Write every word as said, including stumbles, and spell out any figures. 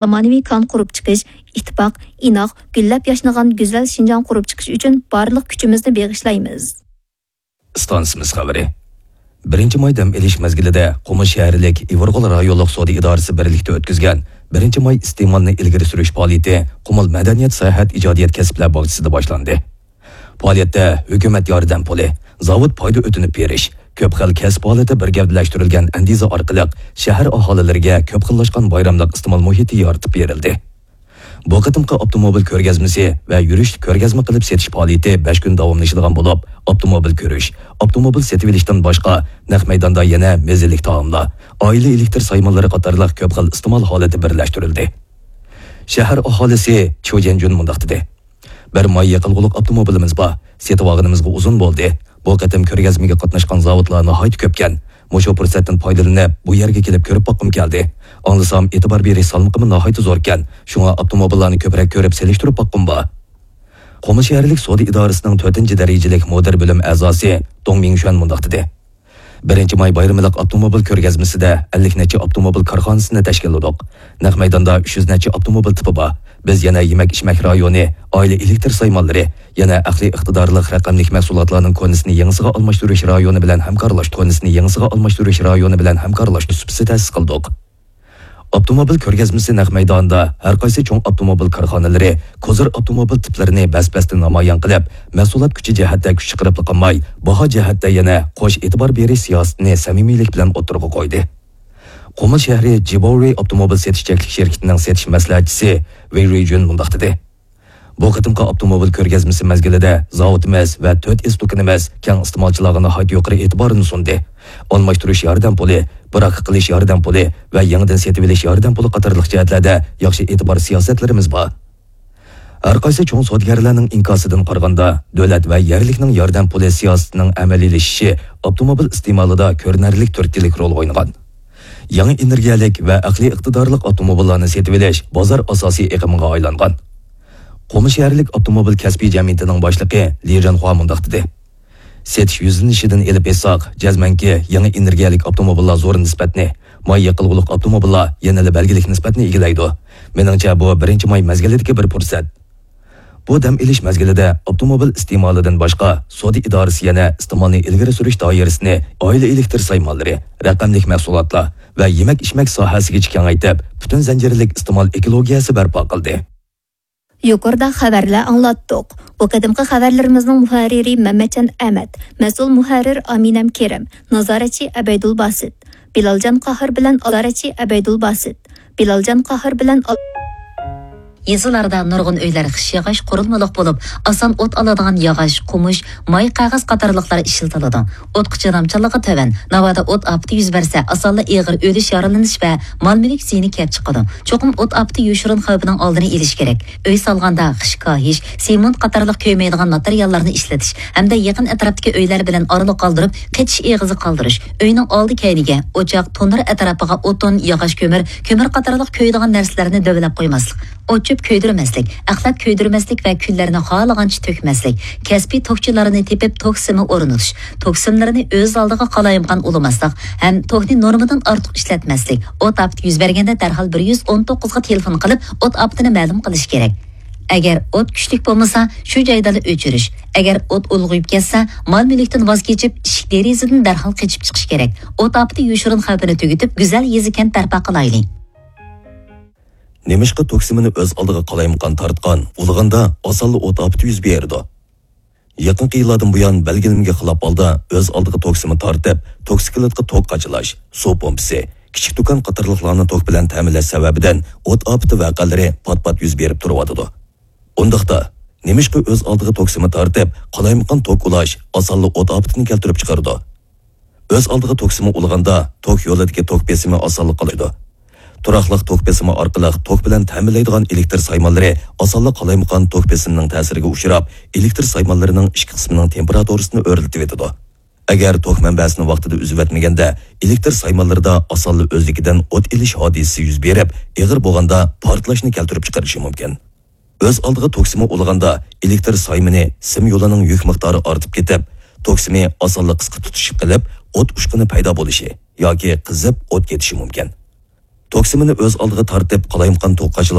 زامانىۋى كان قۇرۇپ چىقىش، ئىتتىپاق، ئىناق، گۈللەپ ياشنىغان گۈزەل شىنجاڭ قۇرۇپ چىقىش ئۈچۈن بارلىق كۈچىمىزنى بېغىشلايمىز. ئىستانسىمىز خەۋىرى. بىرىنچى ماي دەم ئېلىش مەزگىلىدە قۇمۇل شەھەرلىك ئىۋىرغول رايونلۇق سودا ئىدارىسى بىرلىكتە ئۆتكۈزگەن بىرىنچى ماي ئىستېمالنى ئىلگىرى سۈرۈش پائالىيىتى قۇمۇل مەدەنىيەت ساياھەت ئىجادىيەت كەسىپلەر باغچىسىدا باشلاندى. پائالىيەتتە ھۆكۈمەت ياردەم پۇلى، زاۋۇت پايدا ئۆتۈنۈپ بېرىش، كۆپ خىل كەسىپ ھالىتى بىر گەۋدىلەشتۈرۈلگەن ئەندىزە ئارقىلىق شەھەر ئاھالىلىرىگە كۆپ خىللاشقان بايراملىق ئىستېمال مۇھىتى يارىتىپ بېرىلدى. بۇ قېتىمقى ئاپتوموبىل كۆرگەزمىسى ۋە يۈرۈشلۈك كۆرگەزمە قىلىپ سېتىش پائالىيىتى بەش كۈن داۋاملىشىدىغان بولۇپ، ئاپتوموبىل كۆرۈش، ئاپتوموبىل سېتىۋېلىشتىن باشقا، نەق مەيداندا يەنە مەززىلىك تائاملار، ئائىلە ئېلېكتىر سايمانلىرى قاتارلىق كۆپ خىل ئىستېمال ھالىتى بىرلەشتۈرۈلدى. شەھەر ئاھالىسى چيۇ جيەنجۈن مۇنداق دېدى. بىر ماي يېقىلغۇلۇق ئاپتوموبىلىمىز بار. سېتىۋالغىنىمىزغا ئۇزۇن بولدى. بۇ قېتىم كۆرگەزمىگە قاتناشقان زاۋۇتلار ناھايىتى كۆپكەن. مۇشۇ پۇرسەتتىن پايدىلىنىپ، بۇ يەرگە كېلىپ كۆرۈپ باققۇم كەلدى. ئاڭلىسام، ئېتىبار بېرىش سالمىقىمۇ ناھايىتى زوركەن. شۇڭا ئاپتوموبىللارنى كۆپرەك كۆرۈپ سېلىشتۇرۇپ باققۇم بار. قۇمۇل شەھەرلىك سودا ئىدارىسىنىڭ تۆتىنچى دەرىجىلىك مۇدىر بۆلۈم ئەزاسى دۇڭ مىڭشۈەن مۇنداق دېدى. بىرىنچى ماي بايرىملىق ئاپتوموبىل كۆرگەزمىسىدە ئەللىك نەچچە ئاپتوموبىل كارخانىسىنى تەشكىللىدۇق. نەق مەيداندا ئۈچ يۈز نەچچە ئاپتوموبىل تىپى بار. بىز يەنە يېمەك-ئىچمەك رايونى، ئائىلە ئېلېكتر سايمانلىرى، يەنە ئەقلىي ئىقتىدارلىق رەقەملىك مەھسۇلاتلارنىڭ كونىسىنى يېڭىسىغا ئالماشتۇرۇش رايونى بىلەن ھەمكارلاش، كونىسىنى يېڭىسىغا ئالماشتۇرۇش رايونى بىلەن ھەمكارلاشتۇرۇش سۇپىسى تەسىس قىلدۇق. ئاپتوموبىل كۆرگەزمىسى نەق مەيدانىدا ھەر قايسى چوڭ ئاپتوموبىل كارخانىلىرى كوزىر ئاپتوموبىل تىپلىرىنى بەس-بەستە نامايان قىلىپ، مەھسۇلات كۈچى جەھەتتە كۈچ چىقىرىپلا قالماي، باھا جەھەتتە يەنە قوش ئېتىبار بېرىش سىياسىتىنى سەمىمىيلىك بىلەن ئوتتۇرىغا قويدى. قۇمۇل شەھىرى جىباۋرى ئاپتوموبىل سېتىش چەكلىك شىركىتىنىڭ سېتىش مەسلىھەتچىسى ۋېي رۇيجۈن مۇنداق دېدى. بۇ قېتىمقى ئاپتوموبىل كۆرگەزمىسى مەزگىلىدە زاۋۇتىمىز ۋە تۆت ئېس دۇكىنىمىز كەڭ ئىستېمالچىلارغا ناھايىتى يۇقىرى ئېتىبارنى سۇندى. ئالماشتۇرۇش ياردەم پۇلى، براكا قىلىش ياردەم پۇلى ۋە يېڭىدىن سېتىۋېلىش ياردەم پۇلى قاتارلىق جەھەتلەردە ياخشى ئېتىبار سىياسەتلىرىمىز بار. ھەر قايسى چوڭ سودىگەرلەرنىڭ ئىنكاسىدىن قارىغاندا، دۆلەت ۋە يەرلىكنىڭ ياردەم پۇلى سىياسىتىنىڭ ئەمەلىيلىشىشى ئاپتوموبىل ئىستېمالىدا كۆرۈنەرلىك تۈرتكىلىك رول ئوينىغان. يېڭى ئېنېرگىيەلىك ۋە ئەقلىي ئىقتىدارلىق ئاپتوموبىللارنى سېتىۋېلىش بازار ئاساسىي ئېقىمىغا ئايلانغان. قۇمۇل شەھەرلىك ئاپتوموبىل كەسپىي جەمئىيىتىنىڭ باشلىقى لى رېنخۇا مۇنداق دېدى. سېتىش يۈزلىنىشىدىن ئېلىپ ئېيتساق، جەزمەنكى، يېڭى ئېنېرگىيەلىك ئاپتوموبىللار زور نىسبەتنى، ماي يېقىلغۇلۇق ئاپتوموبىللار يەنىلا بەلگىلىك نىسبەتنى ئىگىلەيدۇ. مېنىڭچە، بۇ بىرىنچى ماي مەزگىلىدىكى بىر پۇرسەت. بۇ دەم ئېلىش مەزگىلىدە ئاپتوموبىل ئىستېمالىدىن باشقا، سودا ئىدارىسى يەنە ئىستېمالنى ئىلگىرى سۈرۈش دائىرىسىنى ئائىلە ئېلېكتر سايمانلىرى، رەقەملىك مەھسۇلاتلار ۋە يېمەك-ئىچمەك ساھەسىگىچە كېڭەيتىپ، پۈتۈن زەنجىرلىك ئىستېمال ئېكولوگىيەسى بەرپا قىلدى. يۇقىرىدا خەۋەرلەر ئاڭلاتتۇق. بۇ قېتىمقى خەۋەرلىرىمىزنىڭ مۇھەررىرى مەمەتجان ئەمەت، مەسئۇل مۇھەررىر ئامىنەم كېرەم، نازارەتچى ئەبەيدۇل باسىت. بىلالجان قاھار بىلەن نازارەتچى ئەبەيدۇل باسىت. بىلالجان قاھار بىلەن يېزىلاردا نۇرغۇن ئۆيلەر خىش ياغاچ قۇرۇلمىلىق بولۇپ، ئاسان ئوت ئالىدىغان ياغاچ، قومۇش، ماي قەغەز قاتارلىقلار ئىشلىتىلىدۇ. ئوتقا چىدامچانلىقى تۆۋەن، ناۋادا ئوت ئاپىتى يۈز بەرسە، ئاسانلا ئېغىر ئۆلۈش، يارىلىنىش ۋە مال-مۈلۈك زىيىنى كەپ چىقىدۇ. چوقۇم ئوت ئاپىتى يوشۇرۇن خەۋپىنىڭ ئالدىنى ئېلىش كېرەك. ئۆي سالغاندا خىش كاھىش، سېمونت قاتارلىق كۆيمەيدىغان ماتېرىياللارنى ئىشلىتىش ھەمدە يېقىن ئەتراپتىكى ئۆيلەر بىلەن ئارىلىق قالدۇرۇپ، قېچىش ئېغىزى قالدۇرۇش، ئۆينىڭ ئالدى كەينىگە، ئوچاق، تونۇر ئەتراپىغا ئوتۇن، ياغاچ كۆمۈر، كۆمۈر قاتارلىق كۆيىدىغان نەرسىلەرنى دۆۋىلەپ قويماسلىق، ئوت-چۆپ كۆيدۈرمەسلىك، ئەخلەت كۆيدۈرمەسلىك ۋە كۈللەرنى خالىغانچە تۆكمەسلىك، كەسپىي توكچىلارنى تېپىپ توك سىمى ئورنىتىش، توك سىملىرىنى ئۆز ئالدىغا قالايمىقان ئۇلىماسلىق ھەم توكنى نورمىدىن ئارتۇق ئىشلەتمەسلىك، ئوت ئاپىتى يۈز بەرگەندە دەرھال بىر يۈز ئون توققۇزغا تېلېفون قىلىپ، ئوت ئاپىتىنى مەلۇم قىلىش كېرەك. ئەگەر ئوت كۈچلۈك بولمىسا، شۇ جايدىلا ئۆچۈرۈش. ئەگەر ئوت ئۇلغىيىپ كەتسە، مال-مۈلۈكتىن ۋاز كېچىپ، ئىشىك-دېرىزىدىن دەرھال قېچىپ چىقىش كېرەك. ئوت ئاپىتى يوشۇرۇن خەۋپىنى تۈگىتىپ، گۈزەل يېزا-كەنت بەرپا قىلايلى. نېمىشقا توك سىمىنى ئۆز ئالدىغا قالايمىقان تارتقان، ئۇلىغاندا ئاسانلا ئوت ئاپىتى يۈز بېرىدۇ؟ يېقىنقى يىللاردىن بۇيان، بەلگىلىمىگە خىلاپ ھالدا ئۆز ئالدىغا توك سىمى تارتىپ، توكسىكلىتقا توك قاچىلاش، سۇ پومپىسى، كىچىك دۇكان قاتارلىقلارنى توك بىلەن تەمىنلەش سەۋەبىدىن ئوت ئاپىتى ۋەقەلىرى پات-پات يۈز بېرىپ تۇرۇۋاتىدۇ. ئۇنداقتا، نېمىشقا ئۆز ئالدىغا توك سىمى تارتىپ، قالايمىقان توك ئۇلاش ئاسانلا ئوت ئاپىتىنى كەلتۈرۈپ چىقىرىدۇ؟ ئۆز ئالدىغا توك سىمى ئۇلىغاندا، توك يولىدىكى توك بېسىمى ئاسانلا قالايدۇ. تۇراقلىق توك بېسىمى ئارقىلىق توك بىلەن تەمىنلەيدىغان ئېلېكتر سايمانلىرى ئاسانلا قالايمىقان توك بېسىمىنىڭ تەسىرىگە ئۇچراپ، ئېلېكتر سايمانلىرىنىڭ ئىچكى قىسمىنىڭ تېمپېراتۇرىسىنى ئۆرلىتىۋېتىدۇ. ئەگەر توك مەنبەسىنى ۋاقتىدا ئۈزۈۋەتمىگەندە، ئېلېكتر سايمانلىرىدا ئاسانلا ئۆزلۈكىدىن ئوت ئېلىش ھادىسىسى يۈز بېرىپ، ئېغىر بولغاندا پارتلاشنى كەلتۈرۈپ چىقىرىشى مۇمكىن. ئۆز ئالدىغا توك سىمى ئۇلىغاندا، ئېلېكتر سايمىنى سىم يولىنىڭ يۈك مىقدارى ئارتىپ كېتىپ، توك سىمى ئاسانلا قىسقا تۇتىشىپ قېلىپ، ئوت ئۇچقۇنى پەيدا بولۇشى ياكى قىزىپ ئوت كېتىشى مۇمكىن. توكسىمىنى ئۆز ئالدىغا تارتىپ، قالايمىقان توقاچلىق